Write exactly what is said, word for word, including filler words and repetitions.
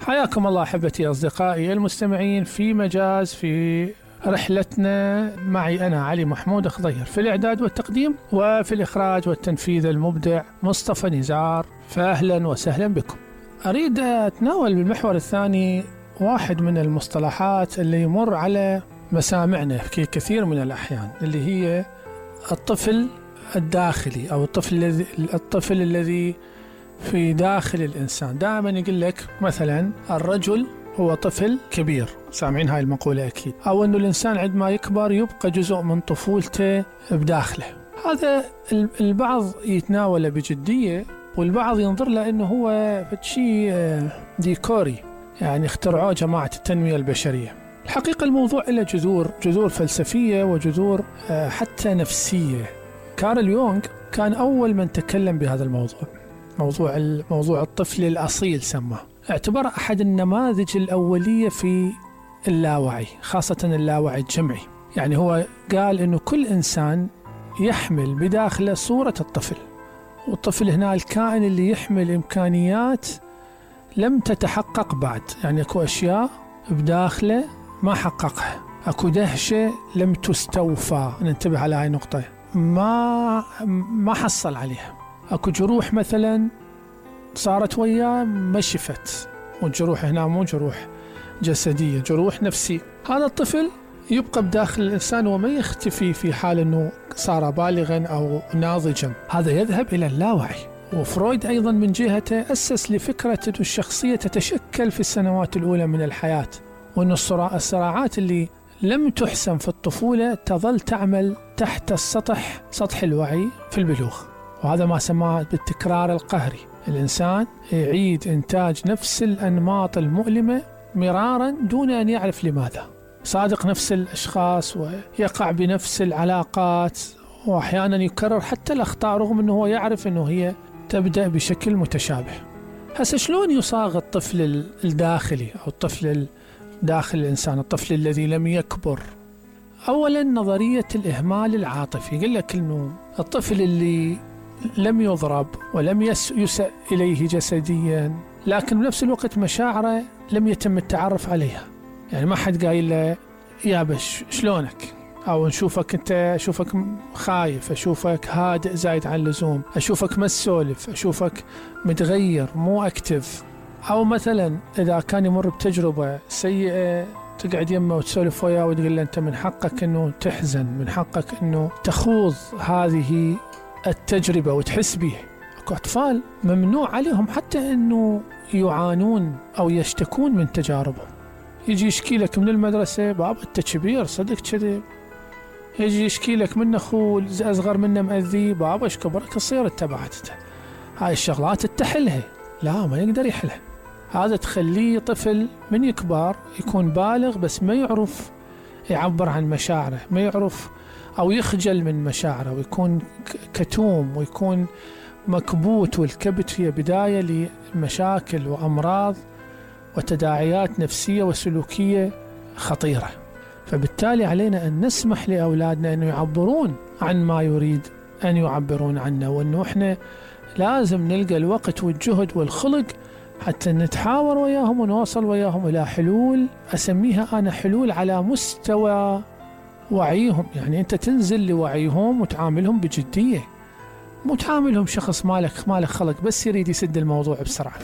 حياكم الله أحبتي أصدقائي المستمعين في مجاز في رحلتنا. معي أنا علي محمود خضير في الإعداد والتقديم، وفي الإخراج والتنفيذ المبدع مصطفى نزار. فأهلا وسهلا بكم. أريد أتناول بالمحور الثاني واحد من المصطلحات اللي يمر على مسامعنا في كثير من الأحيان، اللي هي الطفل الداخلي أو الطفل الذي الطفل الذي في داخل الإنسان. دائما يقول لك مثلا الرجل هو طفل كبير، سامعين هاي المقولة أكيد، أو أنه الإنسان عندما يكبر يبقى جزء من طفولته بداخله. هذا البعض يتناوله بجدية، والبعض ينظر له أنه هو شيء ديكوري، يعني اخترعوه جماعة التنمية البشرية. الحقيقة الموضوع له جذور جذور فلسفية وجذور حتى نفسية. كارل يونغ كان أول من تكلم بهذا الموضوع، موضوع موضوع الطفل الأصيل سماه، اعتبر أحد النماذج الأولية في اللاوعي، خاصة اللاوعي الجمعي. يعني هو قال إنه كل إنسان يحمل بداخله صورة الطفل، والطفل هنا الكائن اللي يحمل إمكانيات لم تتحقق بعد، يعني أكو أشياء بداخله ما حققها، أكو دهشة لم تستوفى، ننتبه على هاي النقطة، ما ما حصل عليها، أكو جروح مثلا صارت وياه ما شفت، والجروح هنا مو جروح جسدية، جروح نفسية. هذا الطفل يبقى بداخل الإنسان وما يختفي في حال أنه صار بالغا أو ناضجا، هذا يذهب إلى اللاوعي. وفرويد أيضا من جهته أسس لفكرة أن الشخصية تتشكل في السنوات الأولى من الحياة، وأن الصراعات اللي لم تحسم في الطفولة تظل تعمل تحت السطح، سطح الوعي في البلوغ. وهذا ما سماه بالتكرار القهري، الإنسان يعيد إنتاج نفس الأنماط المؤلمة مرارا دون أن يعرف لماذا، صادق نفس الأشخاص ويقع بنفس العلاقات، وأحيانا يكرر حتى الأخطاء رغم أنه هو يعرف أنه هي تبدأ بشكل متشابه. هسه شلون يصاغ الطفل الداخلي أو الطفل داخل الإنسان، الطفل الذي لم يكبر؟ أولا نظرية الإهمال العاطفي، يقول لك أنه الطفل اللي لم يضرب ولم يسأ إليه جسديا، لكن بنفس الوقت مشاعره لم يتم التعرف عليها. يعني ما حد قايل له يا بش شلونك، أو نشوفك أنت أشوفك خايف، أشوفك هادئ زايد عن اللزوم، أشوفك ما تسولف، أشوفك متغير مو أكتف. أو مثلا إذا كان يمر بتجربة سيئة تقعد يمه وتسولف وياه وتقول له أنت من حقك أنه تحزن، من حقك أنه تخوض هذه التجربة وتحس بيها. أكو أطفال ممنوع عليهم حتى أنه يعانون أو يشتكون من تجاربهم. يجي يشكي لك من المدرسة بابا أنت كبير صدق كذب، يجي يشكي لك من أخوه أصغر منه مأذي، بابا إيش كبرك تصير اتبعته. هاي الشغلات التحلها لا ما يقدر يحلها. هذا تخليه طفل من يكبر يكون بالغ بس ما يعرف يعبر عن مشاعره، ما يعرف أو يخجل من مشاعره، ويكون كتوم ويكون مكبوت. والكبت هي بداية لمشاكل وأمراض وتداعيات نفسية وسلوكية خطيرة. فبالتالي علينا أن نسمح لأولادنا أن يعبرون عن ما يريد أن يعبرون عنه، وأنه إحنا لازم نلقى الوقت والجهد والخلق حتى نتحاور وياهم ونوصل وياهم إلى حلول، أسميها أنا حلول على مستوى وعيهم. يعني أنت تنزل لوعيهم وتعاملهم بجدية، مو تعاملهم شخص مالك مالك خلق بس يريد يسد الموضوع بسرعة.